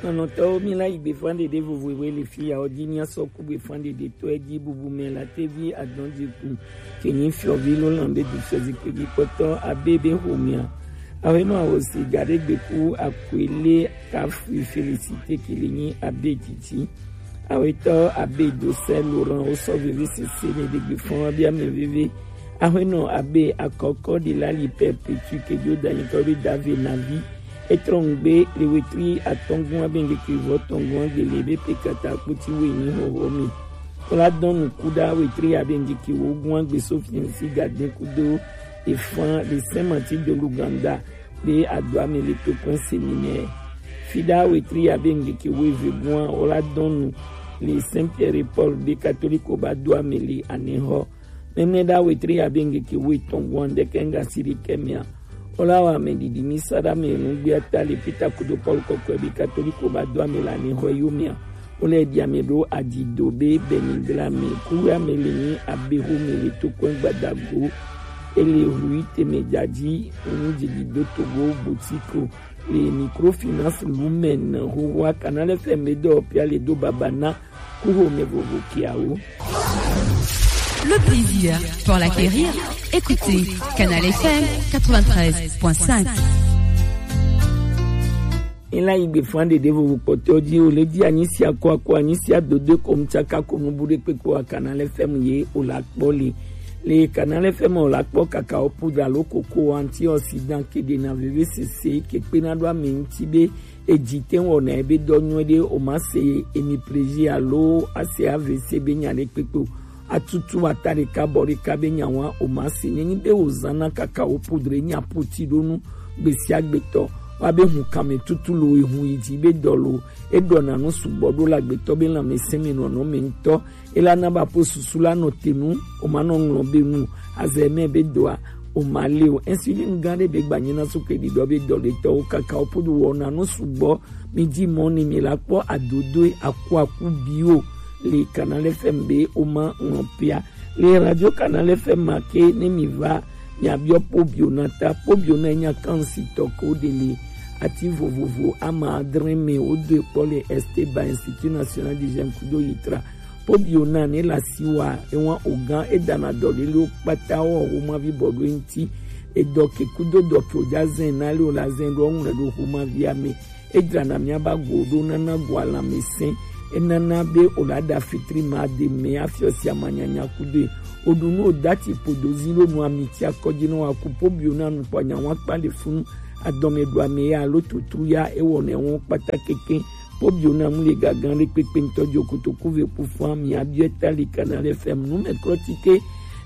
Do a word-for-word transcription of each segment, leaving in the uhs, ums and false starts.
Nɔnɔtɔwo, mi la yi gbefan ɖeɖe vovovoe le fi ya ɔ ji, mi asɔ ku gbefan ɖeɖe tɔ ɛ ji bubu mɛ la tevi adɔn ji ku. Ke nyi fiɔvi lo lan be du fiɔ zikpe ji kpɔtɔ abe be homia. Awe nɔ awo si ga ɖe gbe ku akwe le ka fui Félicité ke le nyi abe jiji. Awetɔ abe do sɛ Laurent wo sɔ veve sese ne ɖe gbefan wa bia mɛ veve. Awe nɔ abe akɔkɔ de la li Perpétue ke jo da nyi kɔ be dave na vi. Etrɔ ŋgbe le wetri atɔngua be ŋgeke vɔ tɔngua gbele be pe kata kpoti we ni hoho mi. Kola dɔn nu kuda wetri abe ŋgeke wo gua gbe so fiansi gaden kudo efan le Saint Martin de l'Ouganda be adua me le tokpɛn séminaire. Fida wetri abe ŋgeke wo eve gua ola dɔn nu le Saint Pierre et Paul be katoliko ba dua me le anehɔ. Mɛmlɛ ɖa wetri abe ŋgeke wo etɔn gua ŋdɛkɛ ŋga si ɖe kɛ mea. Ola wa mɛ ɖiɖi mi sa ɖa mɛ nu gbia ta le Peter kudo Paul kɔkɔe be katoliko ba do ame la ne xɔ yo mea. Ole ɖi ame ɖo adzido be bɛni gla me ku ame le ni abe ho me le tokɔe gbadago. Ele hui teme dzadzi nu dzidi do togo butiko le microfinance lumen hohoa Canal F M be dɔ pia le do baba na Kuho me vovo kiawo. Le plaisir pour l'acquérir. Écoutez Canal F M quatre-vingt-treize point cinq. Ila igbe fande de vovo kpɔtɔ di o le di anyi sia ko ako anyi sia dodo ko mtsaka ko nubu de kpekpe wa Canal F M ye o la kpɔ le. Le Canal F M o la kpɔ kaka o poudre alo koko antioxydant ke de na veve sese ke kpe na do ame ŋuti be Eji te wɔna ebe dɔ nyuie ɖe o ma se emi plaisir alo ase A V C be nya ɖe kpekpe o. Atutu ata ɖeka bɔ ɖeka be nya wa o ma se nenyi be o zana kaka o poudre nya poti ɖo nu gbesiagbetɔ wa be hun kame tutu lo ehun yi dzi be dɔ lo eɖɔna nu sugbɔ ɖo le agbetɔ be lãmesẽ me nɔnɔ me ŋutɔ. Ela na ba po susu la nɔ te nu, o ma nɔ ŋlɔ be nu, azɛ mɛ be doa, o ma le o. Insuline gã ɖe be gbanyina su ke ɖiɖɔ be dɔ ɖe tɔwo kaka o podo wɔ na nu sugbɔ. Mi dzi mɔ ni mi la kpɔ adodoe aku aku bi o le Canal F M be o ma ŋlɔ pia. Le Radio Canal F M ma ke ne mi va miabiɔ Pobio na ta. Pobio na nya kansi tɔ ko de le ati vovovo ama adre me o do kpɔ le Esteba Institut National du Jeune kudo yitra. Pobio na ne la siwa ewa ogan edana dɔ lele o kpata o o ma vi bɔ do ŋti. Edɔ ke kudo dɔ ke o ja zen na le o la zen do ŋlɛ do o ma vi ame. Edzrana miaba go ɖo nana go lãmesẽ. Enana be o la ɖa fitri ma de me afiɔ sia ma nyanya kudoe. O ɖu nu o dati podo zi ɖo nu ami ti akɔdzi nɔ wa ku Pobio na nu kpɔ nya wa kpa le funu. Adɔme ɖu ame ya alo tutu ya ewɔ ne wɔn kpata keke. Pobio na mu le gagan ɖe kpekpe ŋutɔ dzo kotoku ve ku fun ami abiɔ eta le Canal F M nu me klɔ ti ke.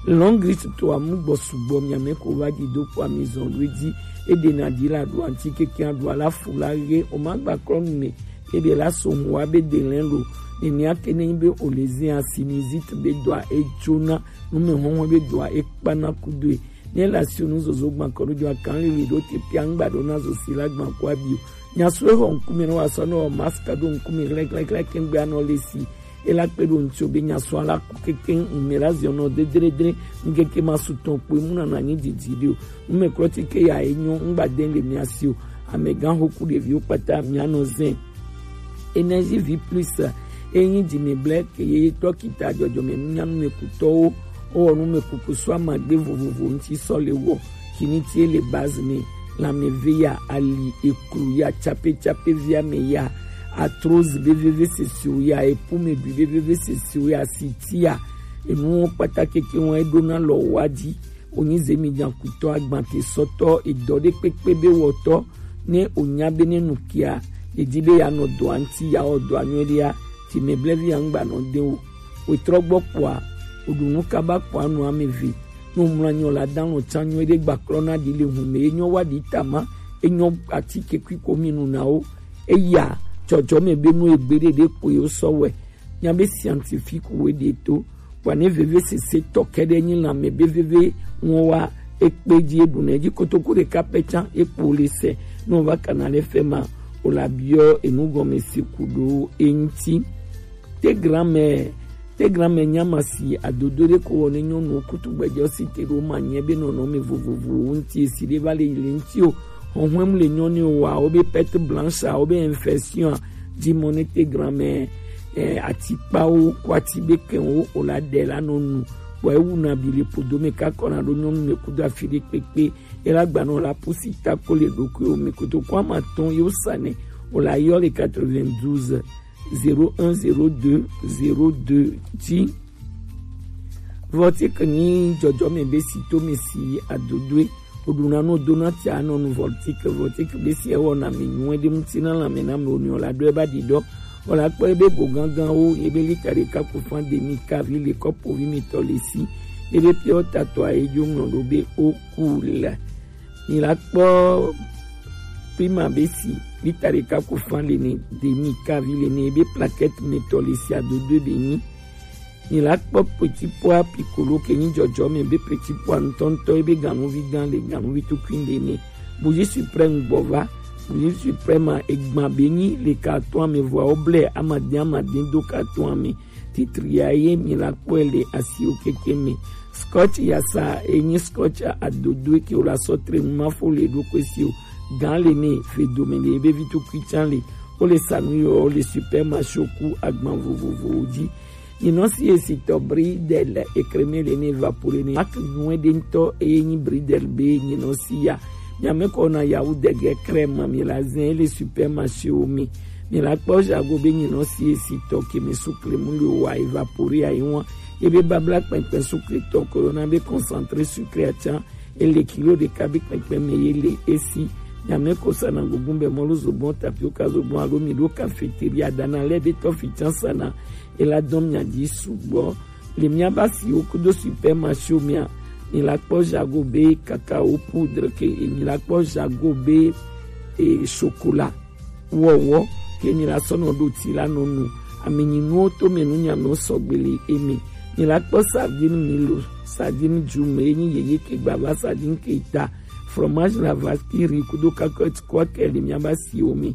Long list to amu gbɔ sugbɔ mi ame ko va di do kpɔ ami zɔn do edzi. Eɖe na ɖi la ɖo anti keke aɖo ala fu la ɣe o ma gba klɔ nu me. Eɖe la so ŋu wa be de lɛ lo. Nenia ke ne nyi be o le zi asi ni zi te be doa edzona nu me hɔhɔ be doa ekpana kudoe. Ne la si o nu zozo gban kɔ ɖo dzo akan lili ɖo te pia ŋgba ɖo na zo si la gban ko abi o. Nya so exɔ ŋkume ne wa sɔ ne wɔ mask ɖo ŋkume hlɛhlɛhlɛ ke ŋgbe anɔ le si. Ela kpe ɖo ŋutsu be nya sɔ ala ku keke ŋume la ziɔ nɔ dedredre ŋkeke ma su tɔn kpoe mu nana nyi didi ɖi o. Nume klɔ ti ke ya enyo ŋgba de le mia si o. Amegã xoku ɖeviwo kpata mia nɔ zɛn. Energie vie plus enyi dzi me ble ke ye tɔ kita dzɔdzɔme nunya nume kutɔwo. Owɔ nume kuku sɔ amagbe vovovo ŋuti sɔ le wɔ. Kini tie le base me. Lãmeve ya, ali, eklu ya, tsapetsapevi ame ya, arthrose be veve sese o ya, epume ɖui be veve sese o ya, siti ya, enuwo kpata keke wɔn eɖona lɔ wa dzi. Wonyi zemi nyakutɔ agbante sɔtɔ edɔ ɖe kpekpe be wɔtɔ ne onya be ne nu kia edi be ya nɔ dɔa ŋti ya wɔ dɔa nyuie ɖea ti me blevi ya ŋgba nɔ de o. Wetrɔ gbɔ kpɔa, oɖu nu kaba kpɔa nu ame ve. Ne omlɔ anyi o la dan lɔ tsa nyuie ɖe gbaklɔ na ɖi le hu me enyɔ wa ɖi tama enyɔ atike kui ko mi nu na wo. Eya tsɔtsɔ me be nu egbe ɖe ɖe kpoe wo sɔ wɛ. Nya be scientifique wo ɖe to. Kpɔa ne veve sese tɔ kɛ ɖe nyi lãme be veve ŋɔ wa ekpe dzi eɖu ne dzi kotoku ɖeka pɛ tsa ekpo le se. Ne o va kana le fɛ ma o la biɔ enu gɔme se ku ɖo eŋti. Te granmɛ, te granmɛ nyama si adodo ɖe ko wɔ ne nyɔnu kutu gbɛdzɔ si te ɖo ma nyɛ be nɔnɔme vovovowo ŋti esi ɖe va le yi le ŋti o. Hɔhɔm le nyɔnu wa o be perte blanche a o be infection a Dimonete granmɛ, eh, atikpawo ko ati be kɛnwo o la ɖe la nɔ nu. Bɔ ewu na bi le podo me ka kɔna ɖo nyɔnu me kudo afi ɖe kpekpe. E la gba nɔ la pusi ta ko le ɖokui o me koto ko ama tɔn yo sa nɛ. O la yɔ le quatre-vingt-douze zéro un zéro deux zéro deux dzi. Vɔtik nyi dzɔdzɔme be si to me si adodoe. Oɖuna no dona tia nɔ nu vɔtik, vɔtik be si ewɔ na me nyuɛ ɖe ŋuti na lame na me o nyɔ la ɖo eba ɖi ɖɔ. O la kpɔ ebe go gangan wo ebe lita ɖeka ku fan de mi kavi le kɔpo vi mi tɔ le si. Ebe piɔ tatɔ a edzo ŋlɔ ɖo be o ku la. Mi la kpɔ prima be si lita ɖeka ku fan le ne de mi kavi le ne ebe plaquette me tɔ le si adodoe be nyi. Mi la kpɔ petit pois piccolo ke nyi dzɔdzɔme be petit pois ŋutɔŋutɔ ebe ganuvi gã le ganuvi tukui le ne. Bougie suprême gbɔ va. Bougie suprême a egba be nyi le carton ame vɔa wo blɛ amade amade do carton ame. Titri ya ye mi la kpɔe le asiwo keke me. Scotch yasa enyi scotch adodo ke wo la sɔ tre nu ma fo le ɖo kpe si o. Gan le ne fe dome le ebe vi tukui can le. O le sanu yɔ o le supermarché ku agban vovovowo dzi. Nyinɔ si esitɔ bridel ekreme le ne evapore ne. Ak nyuɛ ɖe ŋutɔ eye nyi bridel be nyinɔ si ya. Nyame kɔ na yawu dege crème mi la zɛn le supermarché wo mi. Mi la kpɔ jago be nyinɔ si esitɔ ke mi sukle mu le wa evapore ayi wan. Ebe babla kpɛnkpɛn sukle tɔ ko yɔ na be concentré sucré atsan. Ele kilo ɖeka be kpɛkpɛ me ye le esi. Nyame ko sana gugun bɛ mɔlu zogbɔn tapioka zogbɔn alo mi ɖo cafeteria dana lɛ be tɔ fi can sana. Ela dɔn mia dzi sugbɔ. Le mia ba si wo kudo supermarché mia. Mi la kpɔ jago be cacao poudre ke mi la kpɔ jago be e chocolat. Wɔwɔ ke mi la sɔ nɔ ɖo ti la nɔ nu. Ame nyi nuwo to me nu nya me sɔgbe le eme. Mi la kpɔ sardine milo, sardine dzume enyi yeye ke gbava sardine ke ta, fromage la vaskiri kudo kakɔt kɔ ke le mia ba si wo mi.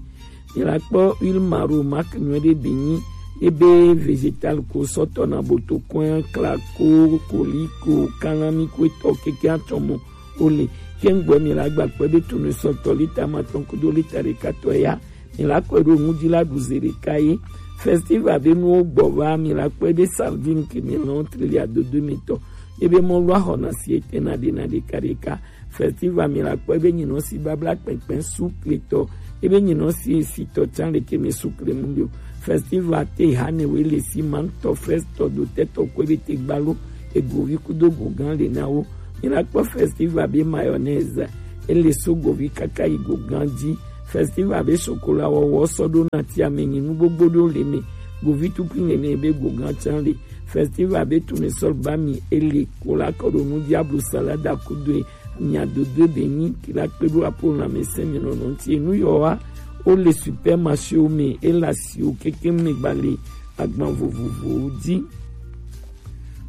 Mi la kpɔ huile maro mak nyuɛ ɖe be nyi ebe vegetal ko sɔtɔ na boto kɔn klako koliko kalami ko etɔ keke atɔmɔ. Ole, ke ŋgbɔ mi la gba kpe be tunu sɔtɔ lita ma tɔn kudo lita ɖeka tɔ ya. Mi la kɔe ɖo ŋudzi la ɖu ze ɖeka ye. Festival be nuwo gbɔ va mi la kpɔe be sardine ke mi lɔn trili adodo mi tɔ. Ebe mɔ lɔ ahɔ na si ete na ɖe na ɖeka ɖeka. Festival mi la kpɔe be nyinɔ si babla kpɛnkpɛn sukle tɔ. Ebe nyinɔ si esitɔ can le ke mi sukle mu yo. Festival te hane we le si ma ŋutɔ festɔ do tɛtɔ kɔe be te gbalo. Egovi kudo gogan le na wo. Mi la kpɔ festival be mayonnaise. Ele so govi kaka yi gogan dzi. Festival be chocolat wɔwɔ sɔ ɖo na ti ame nyi nu gbogbo ɖo le me. Govi tukui nene be gogan can le. Festival be tournesol ba mi ele ko la kɔ ɖo nu dzi ablu salada kudo e. Mia dodo be nyi ki la kpe ɖo apo lãmesẽ mi nɔnɔ ŋuti. Enu yɔ wa wo le supermarché wo me ele asiwo keke me gba le agban vovovowo dzi.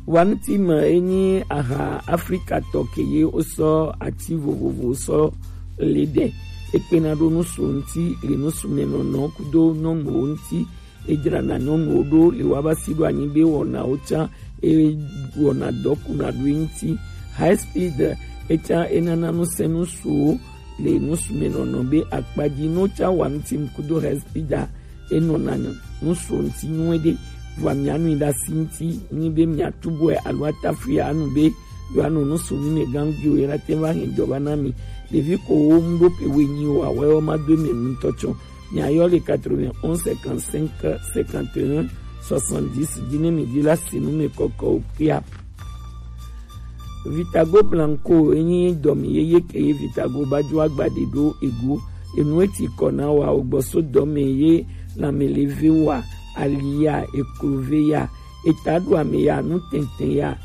Wanti ma enyi aha Afrika tɔ ke ye wosɔ ati vovovo sɔ le ɖe. Ekpena ɖo nusu ŋuti le nusu me nɔnɔ kudo nyɔnuwo ŋuti. Edzrana nyɔnuwo ɖo le waba si ɖo anyi be wɔnawo can ewɔna dɔ kuna ɖo ŋuti. High speed etsa enana nusẽ nusuwo le nusu me nɔnɔ be akpadzi no tsa wanti kudo high speed a enɔna nusu ŋuti nyuie ɖe. Vɔa mianui ɖe asi ŋuti nyi be miatubu alo atafui anu be yewoanɔ nusu mi me gangiwo ye la te va hɛn dɔ va na mi. Ɖevi ko wo mu ɖo pe we nyi o awɛ wo ma do me nutɔ tsɔ. Miayɔ le quatre-vingt-onze cinquante-cinq cinquante et un soixante-dix dzi ne mi dzi la si nu me kɔkɔ o kia. Vitago Blanco enyi dɔmi yeye ke ye Vitago ba jo agba de ɖo ego. Enu eti kɔ na wa ogbɔso dɔme ye lãme le ve wa, ali ya, eklove ya, eta ɖo ame ya, nu tɛntɛn ya.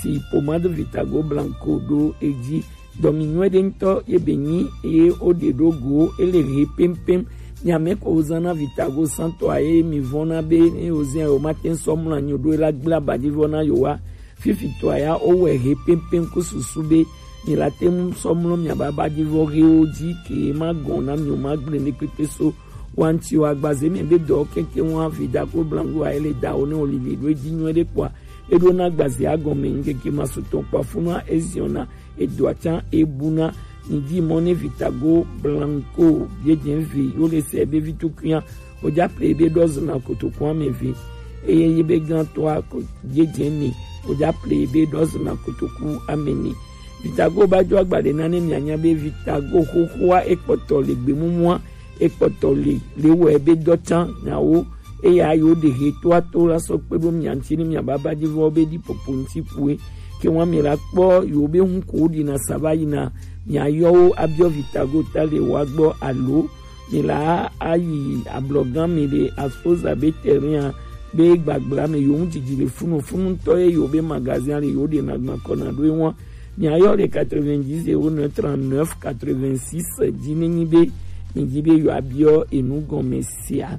Si pomade Vitago Blanco ɖo edzi. Dɔmi nyuie ɖe ŋutɔ ye be nyi ye wo ɖe ɖo go ele he pɛmpɛm. Nyame ko wo zan na Vitago santɔ a ye mi vɔn na be ne wo zɛn o ma te sɔ mlɔ anyi ɖo la gbla ba dzi vɔ na yo wa. Fifi tɔ ya wo wɛ he pɛmpɛm ko susu be mi la te mu sɔ mlɔ mia ba ba dzi vɔ he wo dzi ke ma gɔn na mi o ma gble ne kpekpe so. Wanti o agbaze mi be dɔ keke wa Vitago Blanco a ye le da o ne o lili ɖo edzi nyuie ɖe kpɔa. Eɖo na agbaze agɔme ŋkeke ma sutɔ kpa funua eziɔna edoa can ebuna. Ni di mɔ ne Vitago Blanco biedien vi yo le se be vitukunya oja ple be dɔzna kotoku ame vi. Eye yi be gan to a ko biedien ni oja ple be dɔzna kotoku ame ni. Vitago ba jo agbade na ne mianya be Vitago xoxoa ekpɔtɔ le gbemumua, ekpɔtɔ le le wɔ be dɔ can nyawo. Eya yo de he to ato la sɔ kpe ɖo mia ŋuti ne mia baba ji vɔ be ɖi popo ŋuti kue. Ke wa mi la kpɔ yo be ŋu ko ɖi na saba yi na mia yɔwo abiɔ Vitago ta le wa gbɔ alo mi la ayi ablɔgan mi le asposa be terrain be gbagbla me yo ŋu didi le funu funu ŋutɔ ye yo be magazin le yo ɖe na gbakɔ na ɖo ewa. Miayɔ le quatre-vingt-dix zéro neuf trente-neuf quatre-vingt-six dzi nenyi be mi dzi be yewoabiɔ enu gɔme sia.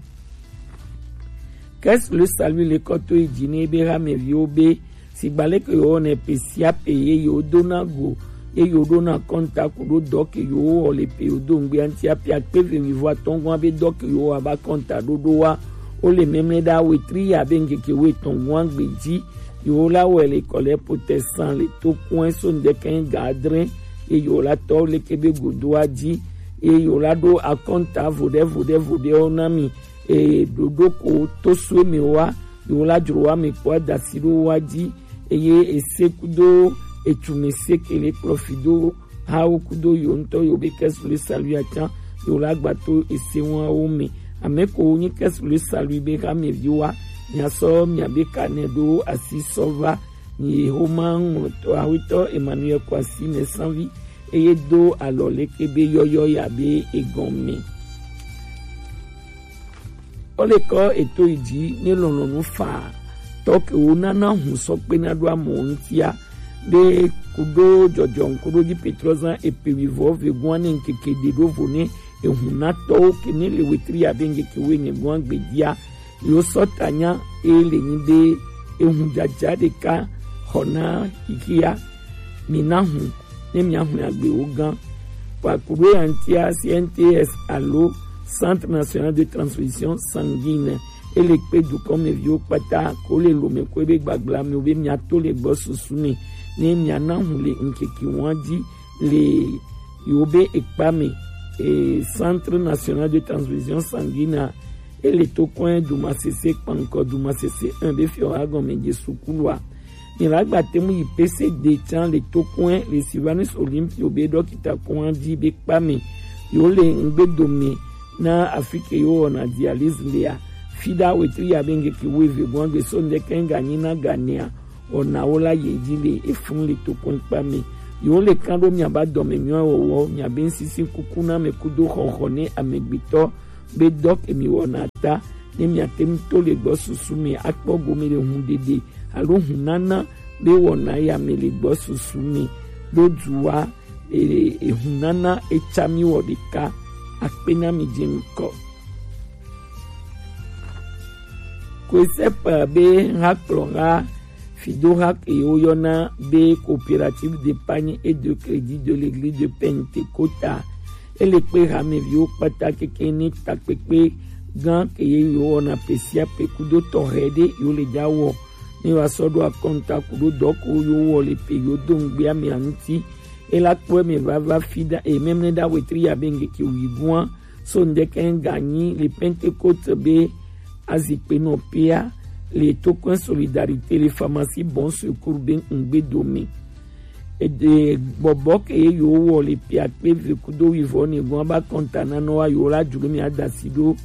Caisse le Salut le kɔ to yi dzi ne be hameviwo be sigba leke yewowɔnɛ pe sia pe ye yewodona go ye yewoɖona kɔnta ku ɖo dɔ ke yewowɔ le pe yewodo ŋgbea ŋuti ape akpe ve mi vɔ atɔ̃ gɔ̃a be dɔ ke yewowɔ abe akɔnta ɖoɖo wa wo le mɛmlɛ ɖa wetri ya be ŋkeke wo etɔ̃ gɔ̃a gbe dzi. Yewo la wɔe le kɔlɛ protestant le to kɔe so ŋdɛkɛ ga adre ye yewo la tɔ leke be godoa dzi ye yewo la ɖo akɔnta voɖe voɖe voɖewo na mi. Eye ɖoɖo ko to so mi wa yewo la dzro wa mi kpɔ adasi ɖo wa dzi eye ese kudo etume se ke le kplɔ fi do hawo kudo yo ŋutɔ yo be kɛsu le salu ya tsã yo la gba to ese wawo me. Ame ko nyi kɛsu le salu be ha mi vi wa mia sɔ mia be ka ne ɖo asi sɔ va ni homa ŋlɔtɔ awetɔ Emmanuel Kwasi me sanvi eye do alɔ leke be yɔyɔ ya be egɔme. Ole kɔ eto yi dzi ne lɔlɔnu fa tɔ ke wo nana hun sɔ kpe na ɖo amɔ ŋutia be kudo dzɔdzɔ ŋkuɖo dzi petrɔ zan epe wi vɔ ve gɔ̃a ne ŋkeke ɖe ɖo vo ne ehun na tɔwo ke ne le wetri abe ŋkeke wo enye gɔ̃a gbedia yo sɔ tanya e le nyi be ehun dzadza ɖeka xɔ na xixia mi na hun ne mia hun agbewo gã. Kpakuɖo ya ŋutia C N T S alo Centre National de Transfusion Sanguine ele kpe dukɔmeviwo kpata ko le lome ko ebe gbagblamiwo be miato le gbɔ susu me ne miana hun le ŋkeke wɔn dzi le yewo be ekpa me. E, Centre National de Transfusion Sanguine a ele to kɔe dumasese kpankɔ dumasese un be fiɔ agɔme Jesu kulua. Ni la gba te mu yi P C D tsã le to kɔe le Sylvanus Olympio be dɔkita kɔa dzi be kpa me yewo le ŋgbedo me na afi ke yewo wɔna dialyse lea. Fi ɖa wetri ya be ŋkeke wuieve gbɔn gbe so ŋdɛkɛ ŋganyi na ganea wɔnawo la ye dzi le efun le tokpɔnkpa me. Yewo le kan ɖo miaba dɔme nyuia wɔwɔ miabe ŋsisi kuku na ame kudo xɔxɔ ne amegbetɔ be dɔ ke mi wɔna ta ne miate ŋu to le gbɔ susu me akpɔ gome le hun ɖeɖe alo hun nana be wɔna ya me le gbɔ susu me ɖo duwa. Ehun nana etsa mi wɔ ɖeka. Akpe na mi dze ŋkɔ. Kosɛp be hakplɔha fidoha ke woyɔna be Coopérative d'épargne et de crédit de l'église de Pentecôte a ele kpe hameviwo kpata keke ne takpekpe gã ke ye yewowɔna pe sia pe kudo tɔxɛ ɖe yewo le dza wɔ ne wa sɔ ɖo akɔnta kudo dɔ ko yewowɔ le pe yewo do ŋgbea mea ŋuti. Ela kpɔe me vava fi ɖa e mɛmlɛ ɖa wetri ya be ŋkeke wi gua so ŋdɛkɛ ŋganyi le Pentecôte be azikpenɔ pea le tokɔe Solidarité le pharmacie Bon Secours be ŋgbedo me. Ede gbɔbɔ ke ye yewo wɔ le pia kpe ve kudo wivɔ ne gɔn ba kɔnta na nɔ wa yewo la dzro mi adasi ɖo.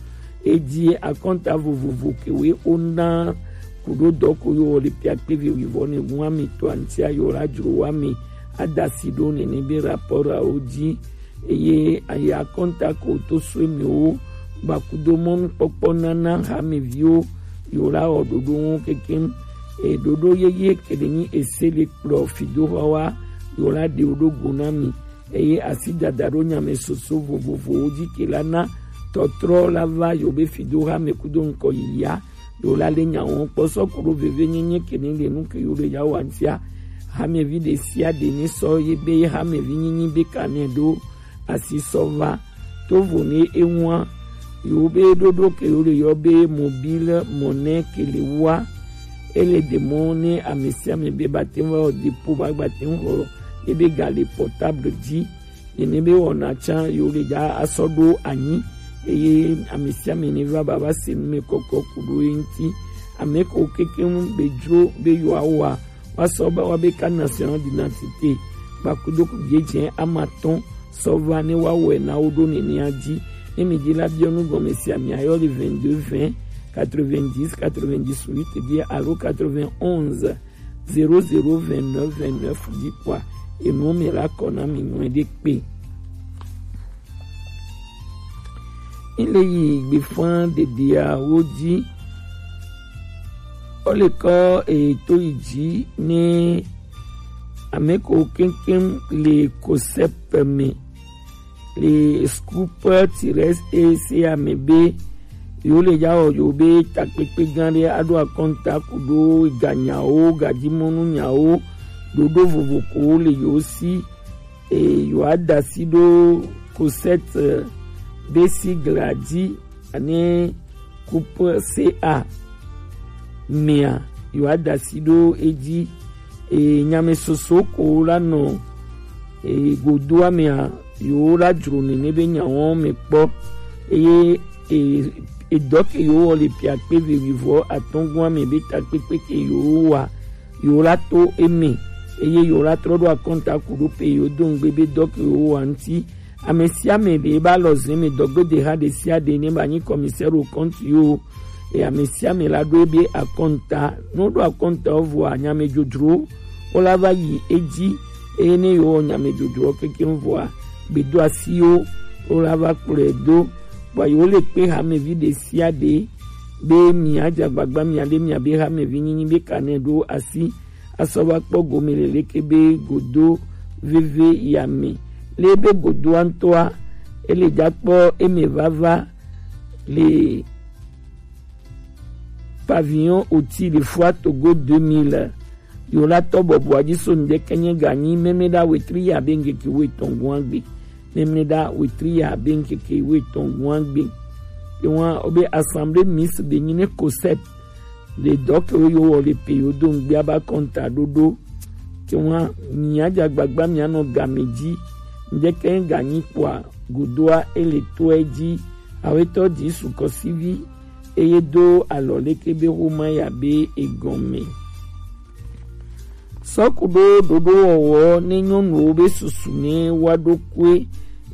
Edi akɔnta vovovo ke we ona kudo dɔ ko yewo wɔ le pia kpe ve wivɔ ne gɔn ami to antia yewo la dzro wa mi adasi ɖo nene be rapport awo dzi. Eye ayi akɔnta ko to so emiwo gbakudo mɔnukpɔkpɔ nana hameviwo yewo la wɔ ɖoɖo ŋu kekeŋ. Eye ɖoɖo yeye ke ɖe nyi ese le kplɔ fidoxɔwa yewo la ɖe wo ɖo go na mi. Eye asi dada ɖo nyame soso vovovowo dzi ke la na tɔtrɔ la va yewo be fidoxa me kudo ŋkɔ yiyia. Yewo la le nya wɔm kpɔ sɔ ku ɖo veve nyenye ke ne le nu ke yewo le ya wa ŋutia. Hamevi ɖe sia ɖe ne sɔ ye be hamevi nyinyi be ka ne ɖo asi sɔ va. Tovo ne eŋua yewo be ɖoɖo ke yewo le yɔ be mobile monnaie ke le wa. Ele ɖe mɔ ne ame sia ame be ba te ŋu va wɔ dépôt ba gba te ŋu xɔ ebe ga le portable dzi. Nene be wɔna tsã yo le dza asɔ ɖo anyi, eye ame sia ame ne va ba va se nu me kɔkɔ ku ɖo ye ŋuti. Ame ko kekeŋ be dzro be yewoawɔa, woasɔ ba wa be carte nationale d'identité kpakudo ku biedzɛ amatɔn sɔ va ne woawɔe na wo ɖo nenea dzi. Ne mi dzi la biɔ nu gɔme sia, miayɔ le vingt-deux vingt quatre-vingt-dix quatre-vingt-dix-huit dzi alo quatre-vingt-onze zéro zéro vingt-neuf vingt-neuf dzi kpɔa, enuwo me la kɔ na mi nyuie ɖe kpe. Ile yi gbefa ɖeɖeawo dzi. Wole kɔ eto yi dzi ne ame ko keŋkeŋ le COSEP me le Scoop Tires ese ame be yo le ya wɔ yo be takpekpe gã ɖe aɖo akɔnta ku ɖo ganyawo, gajimɔnu nyawo, ɖoɖo vovo ko le yo si, e yo ada si ɖo COSEP be sigla dzi ane Coupe C A mea, yo ada si ɖo edzi. E, nyame soso ko la nɔ, e, godoa mea, yo la dzro nene be nyawo me kpɔ. Eye, e, edɔ ke yo wɔ le piakpe vevivɔ atɔngua me be takpekpe ke yo wa, yo la to eme. Eye yo la trɔ ɖo akɔnta ku ɖo pe yo do ŋgbe be dɔ ke yo wa ŋuti. Ame sia ame ɖe ebe alɔze me dɔgbede ha ɖe sia ɖe ne ba nyi commissaire au compte yo. E ame sia ame la ɖo ebe akɔnta. Ne woɖo akɔnta wo vɔa, nyamedzodzro wo la va yi edzi. Eye ne yewo wɔ nyamedzodzro kekeŋ vɔa, gbedoasiwo wo la va kplɔe do. Vɔa yewo le kpe hamevi ɖe sia ɖe be mia dze agbagba mia ɖe mia be hamevi nyinyi be ka ne ɖo asi asɔ va kpɔ gome le leke be godo veve ya me. Le be godoa ŋutɔa, ele dza kpɔ eme vava le pavillon oti le Foire Togo deux mille. Yo la tɔ bɔbɔa dzi so ŋdeke nye ganyi memle ɖa wetri ya be ŋkeke wo etɔn gua gbe. Memle ɖa wetri ya be ŋkeke wo etɔn gua gbe. Ye wa obe Assemblée Miss be nyi ne COSEP le dɔ ke wo yo wɔ le pe yo do ŋgbia ba kɔnta ɖoɖo. Ke wa mia dza gbagba mia nɔ game dzi. Ŋdeke ganyi kpɔa godoa ele toa dzi. Awetɔ dzi sukɔsivi eye do alɔ leke be xoma ya be egɔme. Sɔ ku ɖo ɖoɖo wɔwɔ ne nyɔnuwo be susu ne wa ɖo kue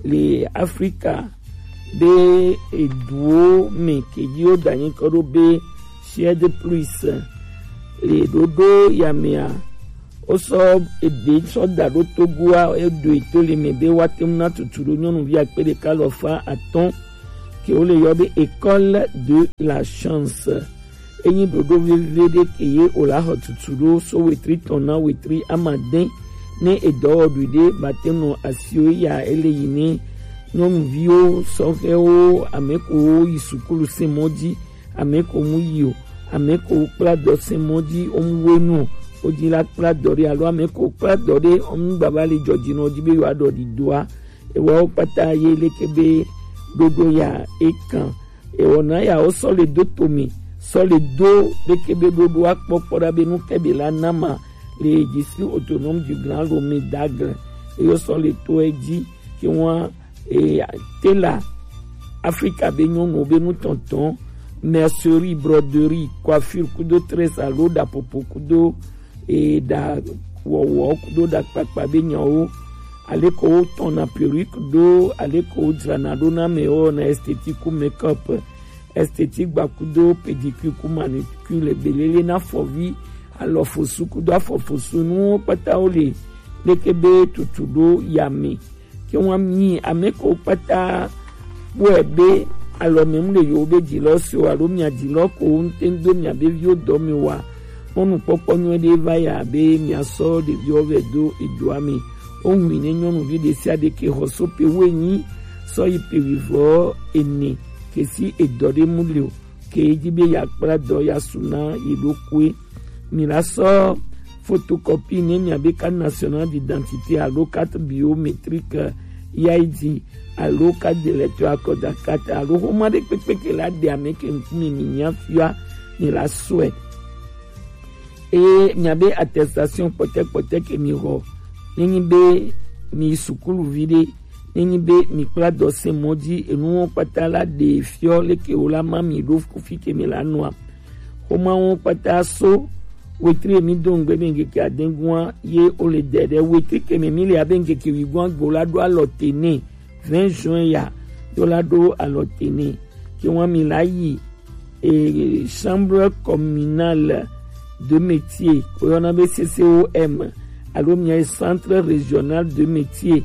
le Afrika be eduwo me ke dzi wo da nyi kɔ ɖo be Suède plus le ɖoɖo ya mea, wo sɔ ebe sɔ da ɖo Togoa, eɖo eto le me be wa te ŋu na tutu ɖo nyɔnuvi akpe ɖeka alafa atɔ̃ ke wo le yɔ be école de la chance. Enyi ɖoɖo veve ɖe ke ye o la xɔ tutu ɖo so wetri tɔn na wetri amadɛn. Ne edɔwɔɖui ɖe ba te nɔ asiwo ya ele yi ne nyɔnuviwo, sɔhɛwo, ame ko yi sukulu se mɔ dzi, ame ko mu yi o, ame ko kpla dɔ se mɔ dzi, o mu wenu o, o dzi la kpla dɔ ɖe alo ame ko kpla dɔ ɖe, o mu gbava le jɔjinɔ dzi be yewoaɖɔ ɖiɖoa. Ewawo kpata ye leke be ɖoɖo ya ekan. Ewɔna ya wo sɔ le do tome, sɔ le do leke be ɖoɖoa kpɔkpɔ ɖa be nu ke be la nama le District Autonome du Grand Lomé d'Aigle. Eyo sɔ le to edzi ke wa e, tela Afrika be nyɔnuwo be nutɔntɔn, mercerie, broderie, coiffure kudo tresse alo ɖapopo kudo e, ɖa wɔwɔ kudo ɖa kpakpa be nyawo, aleko wo tɔna perruque ɖo, aleko wo dzrana ɖo na ame wo na esthétique ku make-up, esthétique gba kudo pédicure ku manucure, belele na afɔvi, alɔfosu kudo afɔfosu nuwo kpata wo le leke be tutu ɖo yame. Ke wa mi ame ko kpata kpɔe be alɔme mu le yewo be dzilɔ si o alo mia dzilɔ ko ŋute do mia be viwo dɔ me wa. Mɔnukpɔkpɔ nyuie ɖe va ya be mia sɔ ɖeviwo vɛ do edoa me. O ŋui ne nyɔnuvi ɖe sia ɖe ke xɔ so pe wo enyi sɔ yi pe wivɔ ene ke si edɔ ɖe mu le o. Ke edzi be yeakpla dɔ yeasu na ye ɖokuiwo. Mi la sɔ photocopie ne miabe carte nationale d'identité alo carte biométrique, I D, alo carte d'électeur, akɔda carte alo xoma ɖe kpekpe ke la ɖe ame ke ŋkume mi nya fia, mi la sɔe. Eye miabe attestation kpɔtɛkpɔtɛ ke mi xɔ, nenyi be mi sukuluvi ɖe, Enyi be mi kpla dɔ se mɔ ji, enu wo kpata la ɖe fiɔ leke wo la ma mi ɖo kufi ke mi la nua. Xoma wo kpata so wetri mi do ŋgbe be ŋkeke adegua ye o le dɛ ɖe wetri ke mi mi le abe ŋkeke wigua gbo la ɖo alɔ te ne vingt juin ya do la ɖo alɔ te ne ke wa mi la yi e, chambre communale de métier, ko yɔna be C C O M, alo mia centre régional de métier,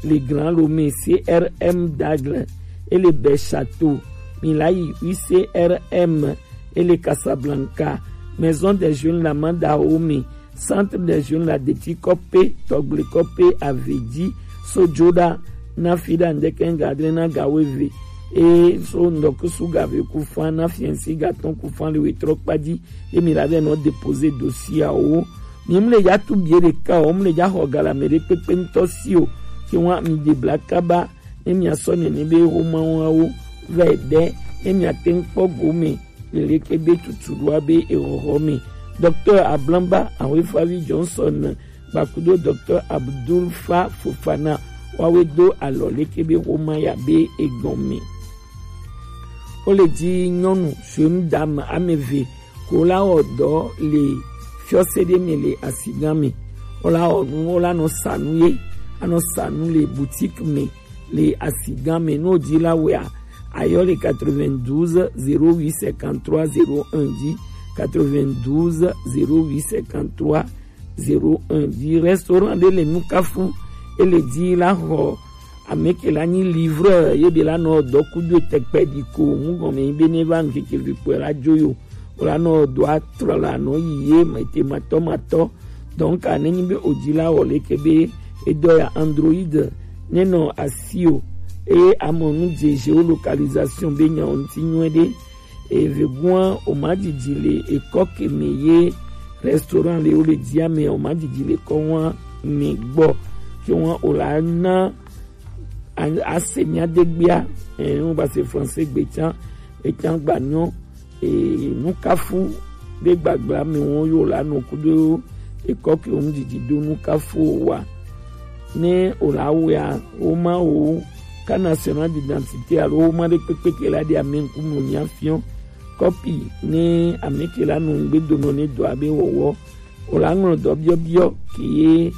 le Grand Lomé, C R M d'Aigle, et le Bel Château, mi la yi U C R M, et le Casablanca, Maison des Jeunes Lamanda Dahomey, Centre des Jeunes la deti kɔpe, tɔgble kɔpe, avedi, so joda, na fi da ndeke ga dre na ga weve. E so ndɔkusu ga ve ku fan na fiɛnsi ga tɔn ku fan le wetrɔ kpaji, e mi la be nɔ déposer dossier awo. Mi mu le ja tu bie ɖeka o, mu le ja xɔ ga la me ɖe kpekpe ŋutɔ si o, ke wa mi de bla kaba, ne mia sɔ nene be xoma wawo vɛ ɖe, ne mia te ŋkpɔ gome, leleke be tutu ɖoa be exɔxɔ me. Docteur Ablamba Ahoefavi Johnson Gbakudo Docteur Abdul Fa Fofana wawe do alɔ leke be xoma ya be egɔme. Wo le ji nyɔnu jeune dame ame eve ko la wɔ dɔ le fiɔse ɖe me le asigan me. Wo la wɔ nu, wo la nɔ sa nu ye, anɔ sa nu le boutique me le asigan me. No ji la wea, ayɔ le quatre-vingt-douze zéro huit cinquante-trois zéro un ji, quatre-vingt-douze zéro huit cinquante-trois zéro un ji. Restaurant ɖe le Nukafu, e le ji la xɔ ame ke la nyi livreur ye be la nɔ dɔ kudo tɛkpɛ di ko ŋu gɔme be ne va ŋkeke vi kpɔe la dzo yo. O la nɔ dɔ atrɔ la nɔ yi ye mete matɔ matɔ. Donc, ne nyi be o ji la wɔ leke be edɔ ya Android ne nɔ asi o, eye amɔ nu dze géolocalisation be nya o ŋuti nyuie ɖe. Eve gua o ma didi le ekɔ ke me ye restaurant le o le dia me o ma didi le kɔ wa me gbɔ ke wa o la na a- ase mia degbea. Eh, wo ba se français gbe tsan, etsan gba nyɔ, eh, Nukafu be gbagba me wo yo la no kudo ekɔ ke wo didi do Nukafu wa. Ne o la wea, wo ma wo ka national d'identité alo wo ma ɖe kpekpe ke la ɖe ame ŋkume mia fiɔ. Kɔpi ne ame ke la nɔ ŋgbe do nɔ ne dɔ abe wɔwɔ. O la ŋlɔ dɔ biɔbiɔ ke ye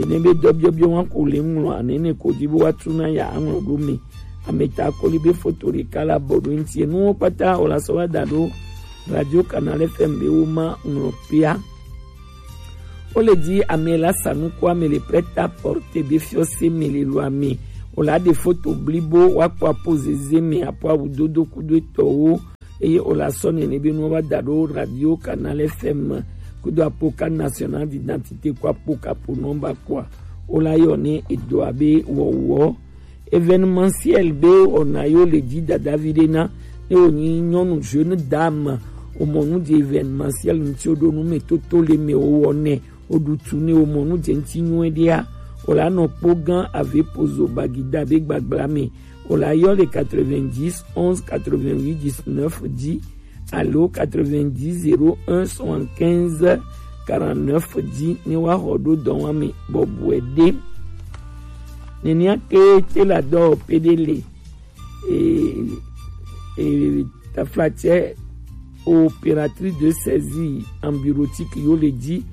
ne be dɔ biɔbiɔ wa ko le ŋlɔ ane ne ko di bo wa tu na ya aŋlɔ ɖo me. Ame ta kɔli be foto ɖeka la bɔ ɖo ŋuti. Enuwo kpata o la sɔ wa da ɖo Radio Canal F M be wo ma ŋlɔ pea. Wo le di ame la sa nuku ame le prêt-à-porter be fiɔse me le lo ame. O la ɖe foto blibo wa kpɔ apo zeze me apo awu dodo kudo etɔwo. Eye o la sɔ nene be nuwo va da ɖo Radio Canal F M kudo apo carte nationale d'identité ko apo kapo nɔmba kɔa. O la yɔ ne edo abe wɔwɔ. Événementiel be wɔna yo le dzi dadavi ɖe na ne wònyi nyɔnu jeune dame wòmɔ nu dze événementiel ŋuti wòɖo nu me toto le me wòwɔ nɛ wòɖu tu ne wòmɔ nu dze ŋuti nyuie ɖea wòla nɔ kpɔ gã ave pozo bagida be gbagbla me wòla yɔ le quatre-vingt-dix onze quatre-vingt-huit dix-neuf dzi alo quatre-vingt-dix zéro un soixante-quinze quarante-neuf dzi ne woaxɔ ɖo dɔwɔame bɔbɔe ɖe. Nenea ke te la dɔwɔƒe ɖe le e, e, taflatse opératrice de saisie en bureautique yo le dzi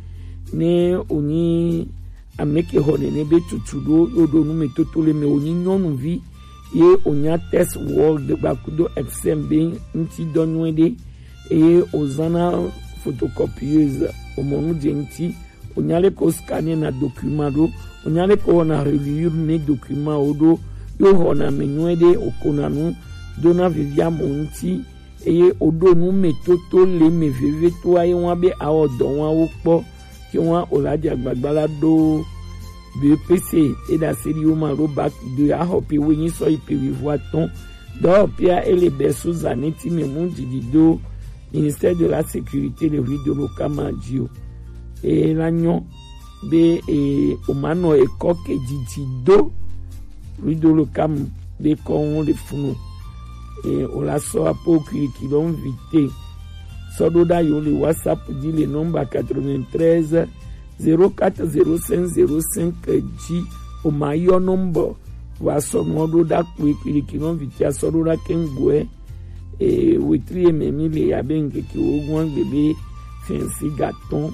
ne wònyi ame ke xɔ nene be tutu ɖo yo ɖo nu me toto le me wònyi nyɔnuvi ye wònya test world gbakudo exam be ŋuti dɔ nyuie ɖe eye wòzãna photocopieuse wòmɔ nu dze ŋuti wònya leke wò scanner na document ɖo wònya leke wòwɔna reliure ne document wo ɖo ye wòxɔna me nyuie ɖe wòkona nu dona vivia mo ŋuti eye wòɖo nu me toto le me vevie to aye wa be awɔ dɔ wa wo kpɔ ke wa wòla dze agbagba la ɖo B E P C e ɖe ase ɖi wo ma ɖo bac de axɔ pe wo nyi sɔ yi pe wivo atɔn dɔwɔƒea ele bɛ so zã ne ti me mu didi do ministère de la sécurité le rue de l'Okama dzi o eye la nyɔ be e o ma nɔ ekɔ ke didi do rue de l'Okama be kɔ ŋu le funu e o la sɔ apo kiriki lɔ ŋu vite sɔ ɖo ɖa yo le WhatsApp dzi le nɔmba quatre-vingt-treize zéro quatre zéro cinq zéro cinq dzi o ma yɔ nɔmba Wa sɔ nuwo ɖo ɖa kpoe kpiliki nɔ viti asɔ ɖo ɖa kɛŋgɔɛ. E wetri ye mɛ mi le abe ŋkeke wo gɔn gbe be fɛnsi gatɔn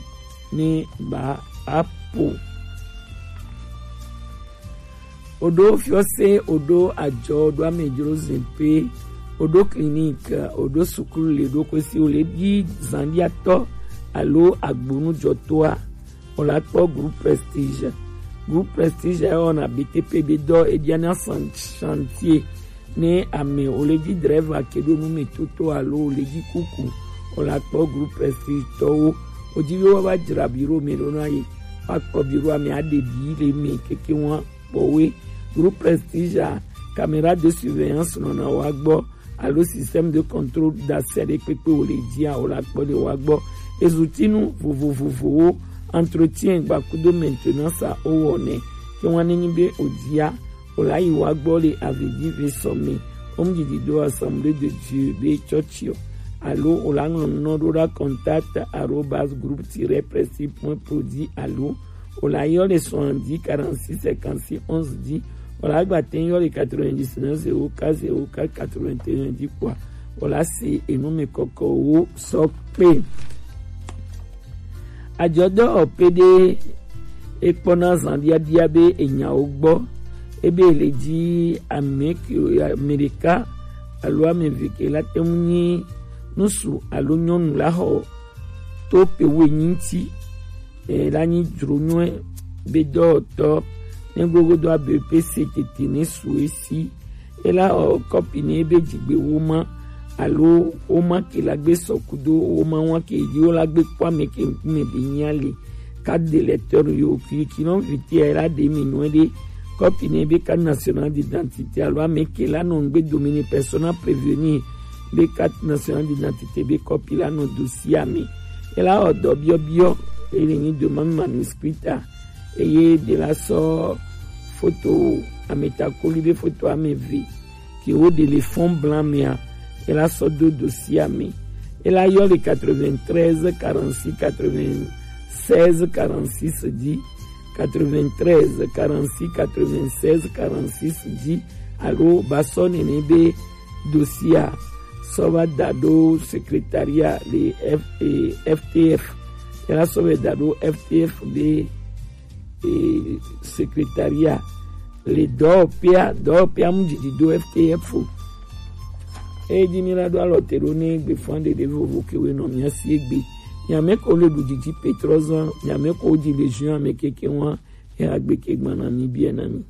ne ba apo. Oɖo fiɔse, oɖo ajɔ, oɖo amedzro zɛnpe, oɖo clinique, oɖo sukulu le ɖo kwesi o le ɖi zandiatɔ alo agbonujɔtɔa, o la kpɔ Groupe Prestige. Groupe Prestige ya wɔna B T P be dɔ, e ɖiana san-, chantier. Ne ame o le ɖi driver ke ɖo nu me toto alo o le ɖi kuku, o la kpɔ Groupe Prestige tɔwo. O ji be wa va dzra biro me ɖo na ye. Wa kpɔ biro ame aɖe ɖi le me keke wa kpɔwe. Groupe Prestige a, caméra de surveillance nɔna wa gbɔ alo système de contrôle d'accès ɖe kpekpe o le jia, o la kpɔ le wa gbɔ. Ezutinu vovovovowo, entretien gba kudo maintenance a o wɔnɛ. Ke wa ne nyi be o jia, o la yi wa gbɔ le avi ji ve sɔ me. O mu didi do Assemblée de Dieu be chɔchiɔ. Alo o la ŋlɔ nɔ ɖo ɖa contact arobase groupe tiret prestige point pro ji alo o la yɔ le soixante-dix quarante-six cinquante-six onze ji. O la gba tɛ yɔ le quatre-vingt-dix-neuf zéro quatre zéro quatre quatre-vingt-un ji kpɔa. O la se enu me kɔkɔ wo sɔ kpe. Ajɔdɔ ɔ pe ɖe e kpɔna zandiadia be enyawo gbɔ. Ebe le ji ame ke, ame ɖeka alo ame eve ke la te ŋu nyi nusu alo nyɔnu la xɔ to pe wo enyi ŋuti. E la nyi dzronywɛ be dɔwɔtɔ ne gogodo abe pe se tete ne su esi. E la xɔ kɔpi ne be dzigbe wo ma alo wo ma ke la gbe sɔ kudo wo ma wa ke yi wo la gbe kpɔ ame ke ŋkume be nya le. Carte d'électeur yo ki ki nɔ viti e la ɖe mi nɔ ɖe. Kɔpi ne be carte nationale d'identité alo ame ke la nɔ ŋgbe domini persona prévenu be carte nationale d'identité be kɔpi la nɔ dossier ame. E la xɔ dɔ biɔbiɔ e le nyi doma manuscrita. Eye ɖe la sɔ foto ametakoli be foto ame eve ke wo ɖe le fond blanc mea, e la sɔ do dossier ame. E la yɔ le quatre-vingt-treize quarante-six quatre-vingt-seize quarante-six ji, quatre-vingt-treize quarante-six quatre-vingt-seize quarante-six ji alo ba sɔ nene be dossier a sɔ va da ɖo secrétariat le F, eh, F T F. E la sɔ va da ɖo F T F be eh, secrétariat le dɔwɔƒea, dɔwɔƒea mu didi do F T F o. Eye dzi mi la ɖo alɔ te ɖo ne gbe fɔn ɖeɖe vovo ke we nɔ mia si egbe. Mia me ko le ɖu didi petrɔzan, mia me ko dzi le juin ame keke wa, e agbe ke gbana mi bia na mi.